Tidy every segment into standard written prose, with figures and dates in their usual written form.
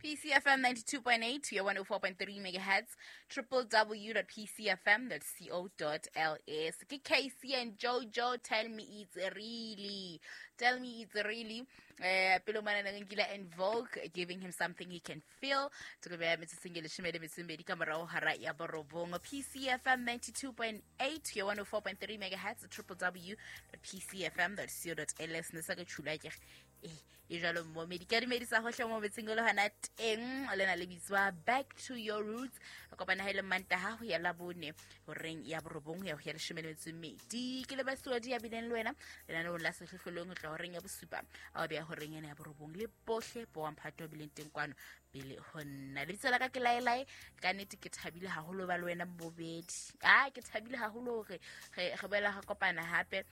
PCFM 92.8 to 104.3 megahertz, www.pcfm.co.ls. Ke KC and Jojo, tell me it's really. Tell me it's really. Pelo mana nkile and Vogue, giving him something he can feel. Tlo be metsotso e 12 ka morao hara ya borobong. PCFM 92.8 to 104.3 megahertz, www.pcfm.co.ls. Ne sa ke tshula ke e jalo momedi ka dumedisa hohle mo metseng le hona teng lena le bitswa Back to Your Roots. Re kopana ha ile Mantaha ho ya Labone horeng ya borobong ya ho ya 12. Ke le basuadi ya bileng le wena lenaneong la Sehlohlolong ho tla horeng ya bosupa a be ya horeng ena ya borobong le bohle bo mphato bileng teng kwano pele ho nna. Lebitso la ka ke Laelae. Ka nnete ke thabile haholo ba le wena bobedi. Ke thabile haholo hore re boela re kopana hape.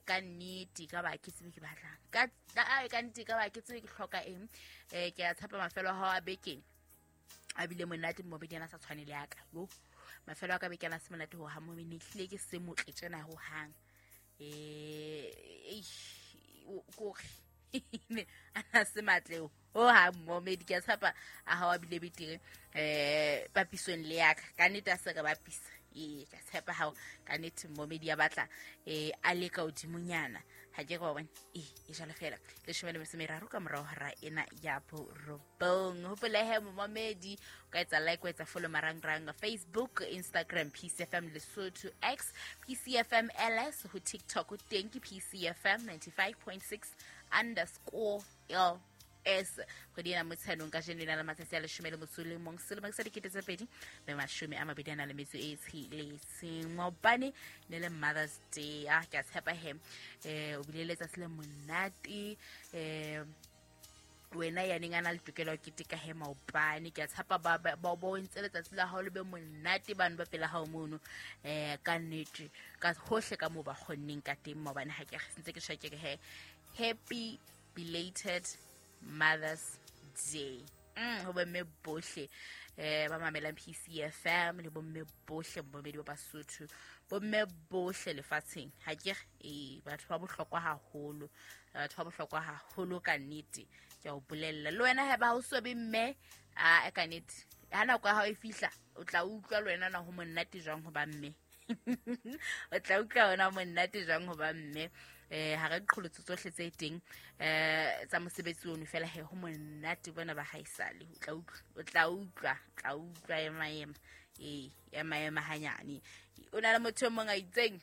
Ka nnete ka ba ke tsebe ke batlang ka nnete ka ba ke tsebe ke hloka eng. Ke a tshepa mafelo a hao a bekeng a bile monate mobedi ana sa tshwane le ya ka. Yo mafelo a ka beke ana se monate ho ha momene hlile ke se motle tjena ho hang. Kore ana se matle ho ha momedi ke a tshepa a hao a bile betere papisong le ya ka. Ka nnete a se re bapisa. Ka tshepa hao ka nnete momedi ya batla a le ka hodimonyana. Ha ke go bona e jalo fela 13 ka morao hora ena ya borobong. Hopola he momedi o ka etsa like, o etsa follow marangrang Facebook, Instagram PCFM Lesotho, X PCFM LS, ho TikTok ho teng ke PCFM 95.6 underscore L S. Kgwedi ena motsheanong ka jeno e na le matsatsi a 11 selemo sa 2026. Maobane ne le Mother's Day. Ke a tshepa he o bile letsatsi le monate. Wena ya neng a na le tokelo ya keteka he maobane. Ke a tshepa ba bo entse letsatsi la hao le be monate bano ba pela hao mono. Ka nnete ka hohle ka moo ba kgonneng ka teng maobane. Ha ke ntse ke tjho ke re he happy belated Mother's Day. Ho bomme bohle ba mamelang PCFM le bomme bohle bomedi ba Basotho, bomme bohle lefatsheng. Ha ke re batho ba bohlokwa haholo, batho ba bohlokwa haholo ka nnete. Ke a o bolella le wena ha ba o so be mme a ka nnete ha nako ya hao e fihla o tla utlwa le wena na ho monate jwang ho ba mme. O tla utlwa wena monate jwang ho ba mme. Ha re qholotso tsohle tse teng tsa mosebetsi ono fela he ho monate bona ba haisale. O tla utlwa ema ema hanyane. O na le motho e mong a itseng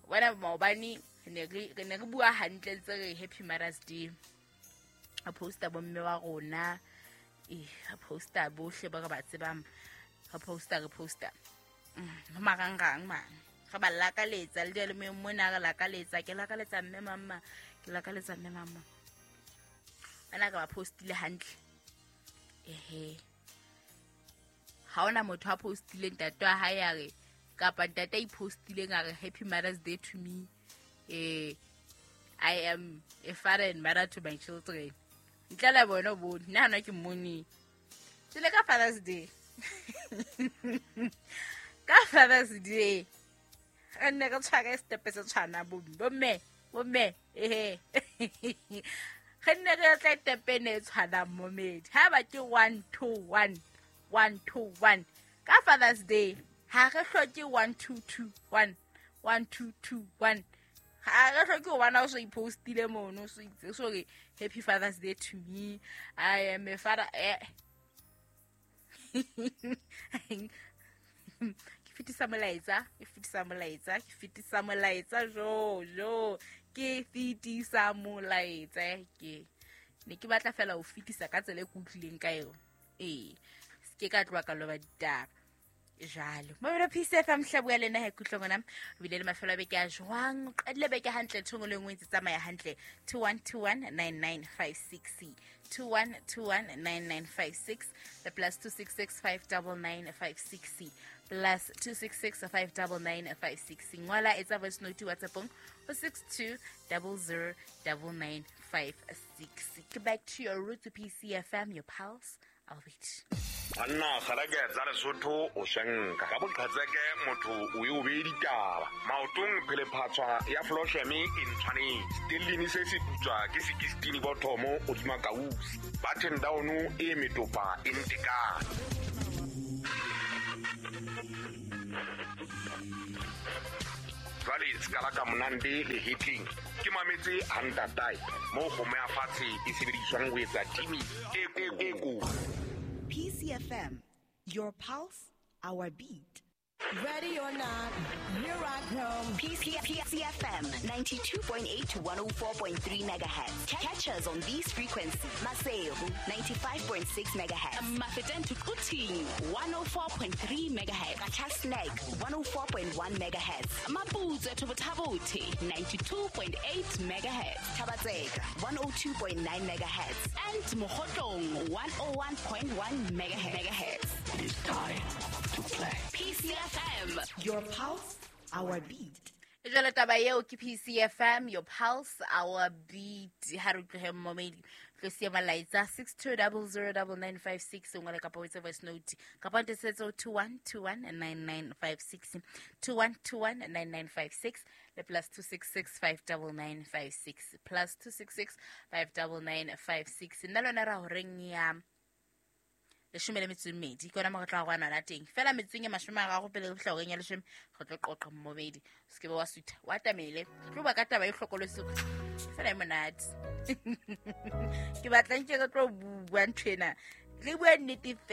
wena maobane ne re bua hantle ntse re happy Mother's Day. A posta bomme wa rona, a posta bohle ba re ba tsebang, re posta marangrang man. Re ba lakaletsa le dialomeng mona re lakaletsa, ke lakaletsa mme mama, ke lakaletsa mme mama. Bana ka ba postile hantle. Ehe. Ha ona motho a postileng ntate wa hae a re kapa ntate a ipostileng a re happy Mother's Day to me. I am a father and mother to my children. Ntle le bona bo nna hona ke mmone. Tsele ka Father's Day. Ka Father's Day. Re nne re tshware stepe se tshwana bomme ehe. Re nne re tla tepe ne tshwana momedi. Ha ba ke 1 2 1 1 2 1 ka Father's Day. Ha re hloke 1 2 2 1 1 2 2 1. Ha re hloke ho bona o so ipostile mono so itse so re happy Father's Day to me. I am a father. Fetisa molaetsa, ke fetisa molaetsa, ke fetisa molaetsa jo ke fetisa molaetsa. Ke ne ke batla fela ho fetisa ka tsela e ke utlwileng ka yona. Se ke ka tloha ka loba ditaba jalo. Mobile PCFM hlabua le nna he kutlong ona. O bile le mafelo a beke a jwang? O qadile beke hantle, ntho e nngwe le nngwe e ntse tsamaya hantle. 21219956 21219956 the plus 266 59956 plus 266 59956. Ngwala etsa voice note WhatsAppong ho 62 00 9956. Back to your roots, PCFM, your pulse. I'll wait. Banna kgalake tsa Lesotho o shenka ka boqhetseke motho o ye o beye ditaba maotong phelephatshwa ya flosheme e ntshwanetse stellini se se putswa ke 16 bothomo hodima kausi button down e metopa e ntekane. Jwale sekala ka monande le hetleng ke mametse hantatae moo kgomo ya fatshe e sebediswang ho etsa timi e ko. PCFM, your pulse, our beat. Ready or not, here I come. PCFM 92.8 to 104.3 megahertz. Catch us on these frequencies. Maseru 95.6 megahertz. Mafeteng to Quthing 104.3 megahertz. Qacha's Nek 104.1 megahertz. Maputsoe to Botha-Bothe 92.8 megahertz. Thaba-Tseka 102.9 megahertz. And Mokhotlong 101.1 megahertz. It is time to play. PCFM, your pulse, our beat. Jwale taba eo ke PCFM, your pulse, our beat. Ha re tlohe momedi tlo siya malaetsa 62009956 o ngwale kapa o etse voice note kapa o ntesetse 21219956 21219956 le plus 266 59956 plus 266 59956. Nna lona ra horeng ya 12 ke yona mo re tla go ana teng fela metseng e 30 pele re fihla horeng ya 10 re tlo qoqa mmomedi se ke be wa sutha wa tamele tlo ba ka taba e hlokolotse fela e monate ke batla nke re tlo bua nthwena le bua nnete fela.